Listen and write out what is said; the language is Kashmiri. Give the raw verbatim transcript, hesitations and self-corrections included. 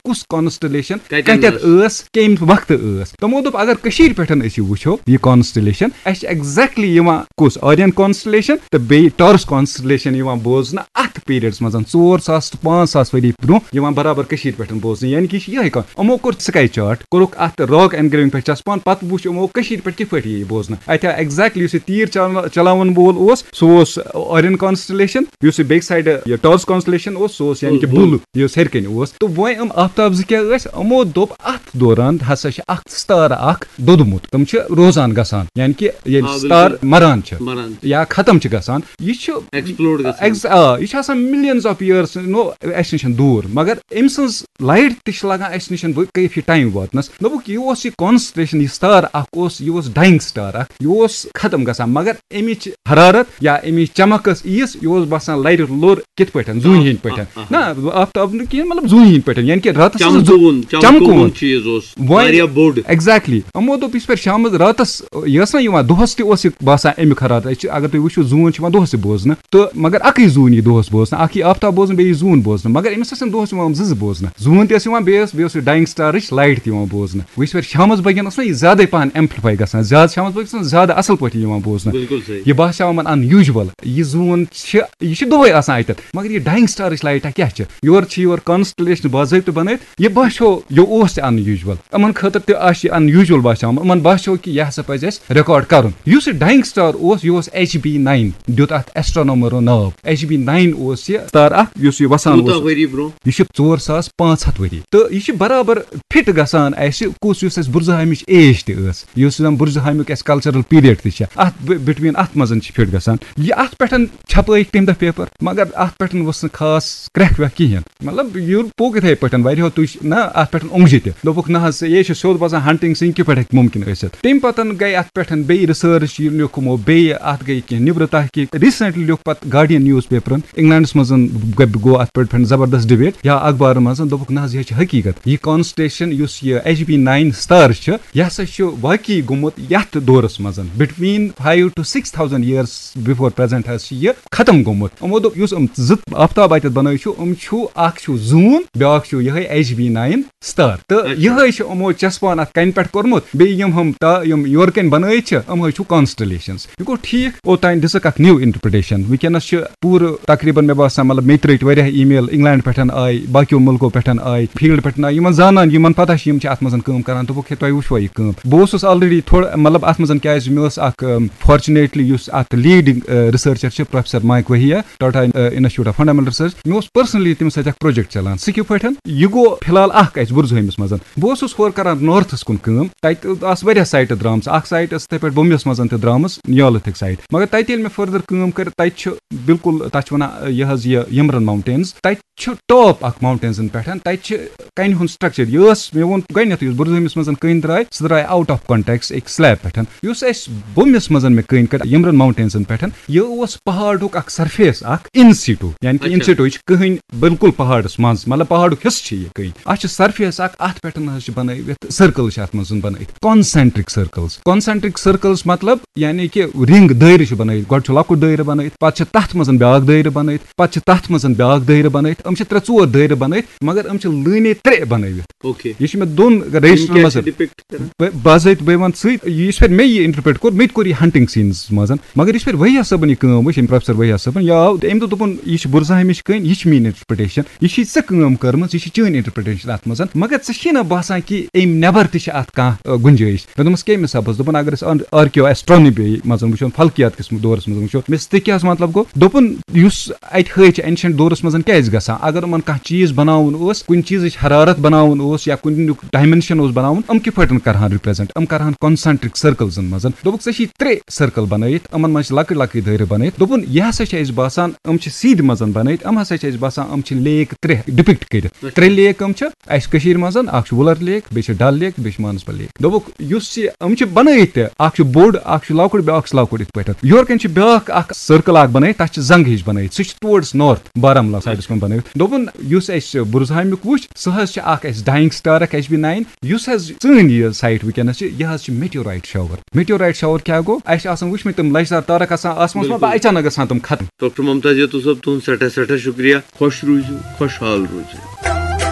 کُس کانسٹلیشن کتٮ۪ن کتٮ۪تھ ٲس، کمہِ وقتہٕ ٲس۔ تِمو دوٚپ اگر کٔشیٖرِ پٮ۪ٹھ أسۍ یہِ وٕچھو، یہِ کانسٹلیشن، اَسہِ چھِ exactly یِوان کُس آرین کانسٹلیشن تہٕ بیٚیہِ ٹارس کانسٹلیشن یِوان بوزنہٕ اتھ پیریڈس منٛز، ژور ساس تہٕ پانٛژھ ساس ؤری برونٛہہ یِوان برابر کٔشیٖرِ پٮ۪ٹھ بوزنہٕ۔ یعنی کہِ یہِ چھِ یِہے کانٛہہ، یِمو کوٚر سکاے چارٹ، کوٚرُکھ اتھ راک اینگریونگ پٮ۪ٹھ چسپان، پتہٕ وٕچھ یِمو کٔشیٖرِ پٮ۪ٹھ کِتھ پٲٹھۍ یہِ بوزنہٕ۔ اتہِ آو exactly یُس یہِ تیٖر چلاو- چلاون وول اوس، سُہ اوس آرین کانسٹلیشن، یُس یہِ بیٚکہِ سایڈٕ یہِ ٹارس کانسٹلیشن اوس، سُہ اوس یعنی کہِ بُل۔ بُل یُس ہیٚرِ کَنہِ اوس۔ تہٕ وۄنۍ یِم آفتاب زٕ کیٛاہ ٲسۍ؟ یِمو دوٚپ اتھ دوران ہسا چھِ اکھ ستارٕ اکھ دوٚدمُت، تِم چھِ روزان گژھان، یعنی کہِ ییٚلہِ آ، بِلکُل۔ ستار مران چھِ مران چھِ۔ یا ختم چھِ گژھان، یہِ چھُ ایکسپلوڈ گژھان۔ ایکس- آ، یہِ چھِ آسان millions of years نو اَسہِ نِش دوٗر، مگر أمۍ سٕنٛز لایٹ تہِ چھِ لگان اَسہِ نِش وۄنۍ کٲفی ٹایم واتنس۔ دوٚپُکھ یہِ اوس یہِ کانسٹلیشن، یہِ ستار اکھ اوس، یہِ اوس ڈاینگ ستار اکھ، یہِ اوس ختم گژھان، مگر امِچ حرارت یا امِچ چمک ٲس ییٖژ، یہِ اوس باسان لرِ لوٚر کِتھ پٲٹھۍ، زوٗنہِ ہٕنٛدۍ پٲٹھۍ۔ نہ، آفتاب نہٕ کِہینۍ، مطلب زوٗنہِ ہٕنٛدۍ پٲٹھۍ، یعنی کہِ راتس ٲس زوٗ- چمکوُن چمکوُن چمکوُن۔ چیٖز اوس وۄنۍ- واریاہ بوٚڑ۔ ایگزیکٹلی۔ یِمو دوٚپ یِژھ پھِر شامس راتس یہِ ٲس نہ یِوان، دۄہس تہِ اوس یہِ باسان امیُک حرارت۔ أسۍ چھِ، اگر تُہۍ وٕچھِو، زوٗن چھِ یِوان دۄہس تہِ بوزنہٕ، تہٕ مگر اکٕے زوٗن یی دۄہس بوزنہٕ، اکھ یی آفتاب بوزنہٕ، بیٚیہِ یی زوٗن بوزنہٕ، مگر أمِس ٲسۍ نہٕ دۄہس یِوان زٕ زٕ بوزنہٕ۔ زوٗن تہِ ٲس یِوان، بیٚیہِ ٲس، بیٚیہِ اوس یہِ ڈاینگ سٹارٕچ لایٹ تہِ یِوان بوزنہٕ۔ وۄنۍ یِژھ پھِر شامس بٲگٮ۪ن ٲس نہ یہِ زیادے پہن ایمپلِفاے گژھان، زیادٕ شامس بٲگۍ ٲس نہٕ زیادٕ اصل پٲٹھۍ یِوان بوزنہٕ۔ بِلکُل صحیح۔ یہِ باسیٛاو یِمن ان یوٗجول، یہِ زوٗن چھِ، یہِ چھِ دۄہے آسان اتٮ۪تھ، مگر یہِ ڈاینگ سٹارٕچ لایٹ کیٛاہ چھِ؟ یورٕ چھِ یورٕ کانسٹلیشن باضٲبطہٕ بنٲوِتھ، یہِ باسیو یہِ اوس تہِ ان یوٗجول۔ یِمن خٲطرٕ تہِ آسہِ یہِ ان یوٗجول باسیومُت، یِمن باسیو کہِ یہِ ہسا پزِ اَسہِ ریکارڈ کرُن۔ یُس یہِ ڈاینگ سٹار اوس، یہِ اوس ایچ بی ناین، دیُت اتھ ایسٹرونومرو ناو۔ ایچ بی ناین اوس یہِ ستار اکھ یُس یہِ وسان کوٗتاہ اوس۔ ؤری برونٛہہ؟ یہِ چھُ ژور ساس پانٛژھ ہتھ ؤری، تہٕ یہِ چھُ برابر فِٹ گژھان اَسہِ کُس، یُس اَسہِ بُرزہامِچ ایج تہِ ٲس، یُس زَن بُرزہامیُک اَسہِ کلچرل پیریڈ تہِ چھِ، اَتھ بِٹویٖن اَتھ منٛز چھِ فِٹ گژھان۔ یہِ اَتھ پٮ۪ٹھ چھپٲیِکھ تَمہِ دۄہ پیپر، مگر اَتھ پٮ۪ٹھ ؤژھ نہٕ خاص کرٛٮ۪کھ وٮ۪کھ کِہینۍ۔ مطلب، یہِ پوٚک یِتھَے پٲٹھۍ، واریاہو تُج نہ اَتھ پٮ۪ٹھ اوٚنٛگجہِ تہِ۔ دوٚپُکھ، نہ حظ، یے چھُ سیوٚد باسان، ہنٹنگ سنگھ کِتھ پٲٹھۍ ہیٚکہِ مُمکِن ٲسِتھ؟ تَمہِ پتہٕ گٔے اَتھ پٮ۪ٹھ بیٚیہِ ریسرچ، یہِ لیوٚکھ یِمو بیٚیہِ، اَتھ گٔے کینٛہہ نیٚبرٕ تحقیٖق۔ ریسنٹلی لیوٚکھ پتہٕ گارڈین نیوز پیپرن، انگلینڈس منٛز گوٚو اَتھ پٮ۪ٹھ زبردست ڈبیٹ یا اخبارن منٛز، دوٚپُکھ، نہ حظ، یہِ چھِ حقیٖقت۔ یہِ کانسٹلیشن یُس یہِ ایچ بی ناین سٹار چھُ، یہِ ہسا چھُ واقعی گوٚمُت یَتھ دورس منٛز، between five to six thousand years before present حظ چھُ یہِ ختم گوٚمُت۔ یِمو دوٚپ، یُس یِم زٕ آفتاب اَتٮ۪تھ بَنٲوِتھ چھُ، یِم چھُ، اکھ چھُ زوٗن، بیٛاکھ چھُ یِہوٚے ایچ بی ناین سٹار۔ تہٕ اچھا۔ یِہوٚے چھُ یِمو چسپان اَتھ کَنہِ پٮ۪ٹھ کوٚرمُت۔ بیٚیہِ یِم ہُم تا-، یِم یورٕ کَنہِ بَنٲوِتھ چھِ، یِموٚے چھُ کانسٹلیشنز۔ یہِ گوٚو ٹھیٖک، اوٚتام دِژٕکھ اَکھ new interpretation۔ وٕنکیٚنَس چھِ پوٗرٕ تقریٖباً، مےٚ باسان، مطلب، مےٚ تہِ رٔٹۍ واریاہ email، انگلینڈ پٮ۪ٹھ آے، باقیو مُلکو پٮ۪ٹھ آے، فیلڈ پٮ۪ٹھ آے، یِمن زانان، یِمن پتہ چھِ، یِم چھِ اَتھ منٛز کٲم کران۔ دوٚپُکھ، ہے، تۄہہِ وٕچھوا یہِ کٲم؟ بہٕ اوسُس already تھوڑا، مطلب، اَتھ منٛز کیازِ مےٚ ٲس اکھ، fortunately یُس اَتھ leading researcher چھِ، professor Mike Vahia, Tata institute of fundamental research, مےٚ اوس personally تٔمِس سۭتۍ اکھ project چلان۔ سُہ کِتھ پٲٹھۍ؟ یہِ گوٚو فی الحال اکھ اَسہِ بُرزہٲمِس منٛز۔ بہٕ اوسُس ہورٕ کران نارتھس کُن کٲم، تَتہِ آسہٕ واریاہ سایٹہٕ درٛامژٕ۔ اکھ سایٹ ٲس تِتھَے پٲٹھۍ بومبیَس منٛز تہِ درٛامٕژ، نیالتھٕک سایٹ۔ مگر تَتہِ ییٚلہِ مےٚ further کٲم کٔر، تَتہِ چھِ بالکل، تَتھ چھِ وَنان، یہِ حظ یہِ یِمرَن ماوُنٹینٕز۔ تَتہِ چھُ ٹاپ اَکھ ماوُنٹینزَن پٮ۪ٹھ، تَتہِ چھِ کَنہِ ہُنٛد structure۔ یہِ ٲس، مےٚ ووٚن گۄڈٕنٮ۪تھٕے، یُس بُرزہٲمِس منٛز کٔنۍ درٛاے، سُہ درٛاے out of context أکۍ slab پٮ۪ٹھ۔ یُس اَسہِ بومبیَس منٛز مےٚ کٔنۍ کٔر یِمرَن ماوُنٹینزَن پٮ۪ٹھ، یہِ اوس پہاڑُک اَکھ surface اَکھ in situ، یعنی کہِ in اچھا۔ situ، یہِ چھِ کٕہٕنۍ بالکل پہاڑَس منٛز، مطلب، پہاڑُک حصہٕ چھِ یہِ کٕہٕنۍ۔ اَتھ چھِ surface اَکھ، اَتھ پٮ۪ٹھ حظ چھِ بَنٲوِتھ circle چھِ اَتھ منٛز بَنٲوِتھ، concentric circles۔ Concentric circles مطلب یعنی کہِ رِنٛگ، دٲیرٕ چھُ بَنٲوِتھ۔ گۄڈٕ چھُ لۄکُٹ دٲیرٕ بَنٲوِتھ، پَتہٕ چھِ تَتھ منٛز بیٛاکھ دٲیرٕ بَنٲوِتھ، پَتہٕ چھِ تَتھ منٛز بیٛاکھ دٲیرٕ بَنٲوِتھ۔ یِم چھِ ترٛےٚ ژور دٲیرٕ بَنٲوِتھ، مگر یِم چھِ لٲنے ترٛےٚ بَنٲوِتھ۔ اوکے۔ یہِ چھُ مےٚ دۄن یِم رجسٹرن کیٛاہ منٛز۔ چھِ depict کران؟ بہٕ، بہٕ حظ ہیٚتہِ، بہٕ وَنہٕ ژٕے، یہِ یِژھ پھِرِ مےٚ یہِ interpret کوٚر، مےٚ تہِ کوٚر یہِ ہنٹنگ سینس منٛز۔ مگر یِژھ پھِرِ وہیا صٲبن یہِ کٲم وٕچھ، أمۍ پروفیسر وہیا صٲبن، یہِ آو، أمۍ دوٚپ، دوٚپُن، یہِ چھِ بُرزہامِچ کٲنۍ، یہِ چھِ میٛٲنۍ interpretation، یہِ چھِ ژےٚ کٲم کٔرمٕژ، یہِ چھِ چٲنۍ interpretation اَتھ منٛز۔ مگر ژےٚ چھِی نہ باسان کہِ اَمہِ نٮ۪بر تہِ چھِ اَتھ کانٛہہ، آ، گُنجٲیِش؟ مےٚ دوٚپمَس، کَمہِ حسابَس؟ دوٚپُن، اگر أسۍ آرکیو ایسٹرونی منٛز وٕچھو، فلکیات کِس دورس منٛز وٕچھو، مےٚ دوٚپُس، تہِ کیٛاہ حظ مطلب گوٚو؟ دوٚپُن، یُس اَتہِ ہٲوِتھ چھِ ancient دورس منٛز کیٛازِ گژھان؟ اگر یِمن کانٛہہ چیٖز بناوُن اوس، کُنہِ چیٖزٕچ حرارت بناوُن اوس یا کُنیُک dimension اوس بناوُن، یِم کِتھ پٲٹھۍ کرہن represent؟ یِم کرہن concentric circlesن منٛز۔ دوٚپُکھ، ژےٚ چھِی ترٛےٚ circle بنٲیِتھ، یِمن منٛز چھِ لۄکٕٹۍ لۄکٕٹۍ دٲیرٕ بنٲیِتھ۔ دوٚپُن، یہِ ہسا چھِ اَسہِ باسان، یِم چھِ سیٖدِ منٛز بنٲیِتھ، یِم ہسا چھِ اَسہِ باسان، یِم چھِ lake ترٛےٚ depict کٔرِتھ۔ ترٛےٚ lake یِم چھِ اَسہِ کٔشیٖرِ منٛز، اکھ چھُ وُلر lake، بیٚیہِ چھِ ڈل lake، بیٚیہِ چھِ مانسبل lake۔ دوٚپُکھ، یُس یہِ، یِم چھِ بنٲیِتھ تہِ، اکھ چھُ بوٚڑ، اکھ چھُ لۄکُٹ، بیٛاکھ چھُ لۄکُٹ یِتھ پٲٹھۍ۔ یورٕ کَنہِ چھِ بیٛاکھ اکھ circle اکھ بنٲیِتھ، تَتھ چھِ زنٛگہٕ ہِش بنٲیِتھ، سُہ چھُ towards north بارہمولہ sideس کُن بنٲیِتھ۔ دوٚپُن، یُس اَسہِ بُرزہامیُک وٕچھ، سُہ حظ چھِ اکھ اَسہِ dying star اکھ، ایچ بی ناین، یُس حظ سٲنۍ یہِ site وٕنکیٚنَس چھِ، یہِ حظ چھِ meteorite shower۔ Meteorite shower کیٛاہ گوٚو؟ اَسہِ چھِ آسان وٕچھمٕتۍ تِم لَچھدار تارَک آسان آسمانَس منٛز، بِلکُل۔ اچانک گژھان تِم ختم۔ ڈاکٹر ممتاز یتو صٲب، تُہُنٛد سٮ۪ٹھاہ سٮ۪ٹھاہ شُکریہ۔ خۄش روٗزِو، خۄشحال روٗزِو۔